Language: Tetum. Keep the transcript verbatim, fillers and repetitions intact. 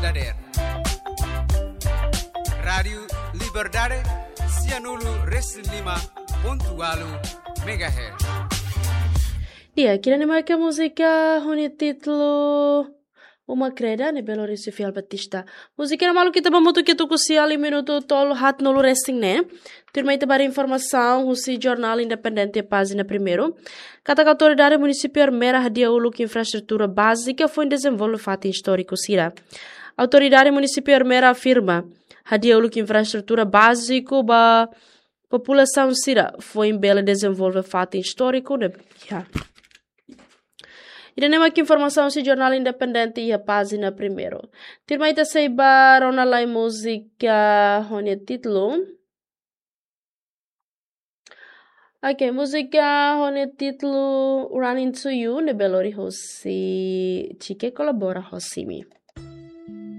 Dader. Rádiu Liberdade, sianulu resin lima pontu walu megahertz. Di'ak, ida-ne'e mak múzika ho nia títulu Uma Kreda, ne'ebé lori husi Fiel Batista. Múzika ne'e malu ita ba hamutuk tuku sia iha minutu tolu haat nulu resin ne'e. Tuirmai ita ba informasaun husi Jornál Independente, pájina primeiru. Katak autoridade munisípiu Ermera hadi'a uluk infraestrutura bázika foin dezenvolve fatin istóriku sira. Autoridade munisípiu Ermera afirma, hadi'a uluk infraestrutura báziku ba populasaun sira foin bele dezenvolve fatin istóriku ne'e iha. Ida-ne'e mak informasaun husi Jornál Independente iha pájina primeiru. Tuirmai ita sei ba rona lai múzika ho nia títulu. Ok, múzika ho nia títulu Running to You, ne'ebé lori husi Chike Kolabora Hosimi.